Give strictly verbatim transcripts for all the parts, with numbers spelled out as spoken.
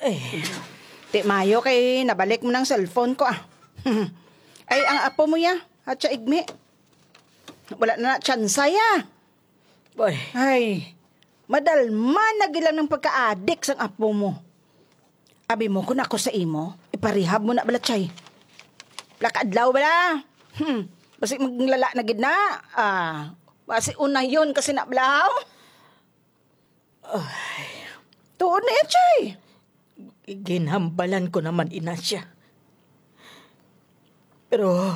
Eh. Ti mayo kay nabalik mo ng cellphone ko, ah. Ay, ang apo mo ya, Hatya Igmi. Wala na na tsansa ya. Boy. Ay, madalman na gilang ng pagkaadik sang apo mo. Abi mo, kung ako sa imo, iparehab mo na bala, Chay. Pila ka adlaw bala. Hmm, basi maglala na gid na. Ah, basi unayon kasi na bala, oh. Ay. Tuod na yan, Chay. Ginhambalan ko naman ina siya. Pero,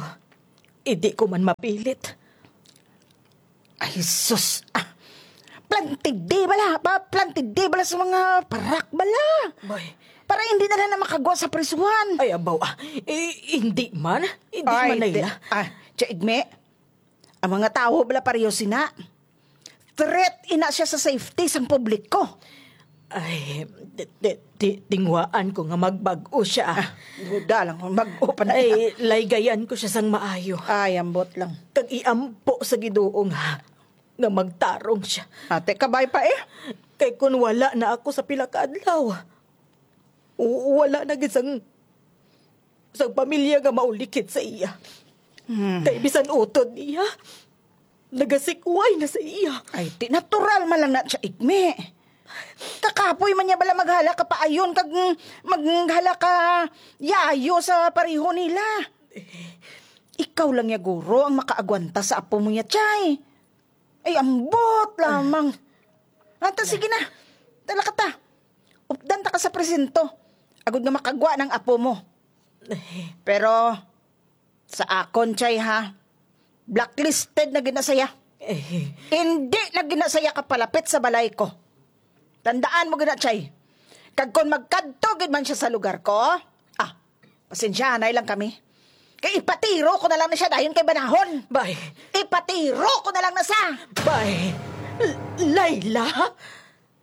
hindi ko man mapilit. Ay, sus. Ah, plantidi bala. Pa, plantidi bala sa mga parak bala. Boy. Para hindi na lang na makagwa sa prisuhan. Ay, abaw, ah. Eh, hindi man. Hindi Ay, man, ti-, Layla. Ah, Tia Igme, ang mga tawo bala pareho sina. Threat ina siya sa safety sang publiko. Ay, ti-, ti-, ti-, tinguhaan ko nga magbag-o siya. Ah, duda lang kung bag-o pa na. Ay, laygayan ko siya sang maayo. Ay, ambot lang. Kag iampo sa Ginoo nga, nga magtarong siya. Ate, kabay pa eh. Kay kun wala na ako sa pila ka adlaw, u-, wala na gid sang, sang pamilya nga maulikid sa iya. Hmm. Kay bisan utod niya, nagasikway na sa iya. Ay, ti natural man lang na siya, Igme. Kakapoy man niya bala maghala ka paayon kag maghala ka yayo sa pareho nila. Ikaw lang ya guro ang makaagwanta sa apo mo ya, Chay. Ay, ambot lamang. Anta, sige na. Dala ka ta. Updan ta ka sa presinto. Agod nga makagwa ng apo mo. Pero, sa akon, Chay, ha? Blacklisted na gid na saya. Eh. Hindi na gid na saya kapalapit sa balay ko. Tandaan mo gid na, Chay. Kag kon magkadto gid man siya sa lugar ko, ah, pasensyahanay lang kami. Kay ipatiro ko na lang na siya dayon kay banahon. Bay. Ipatiro ko na lang na sa. Bay. L-, Layla?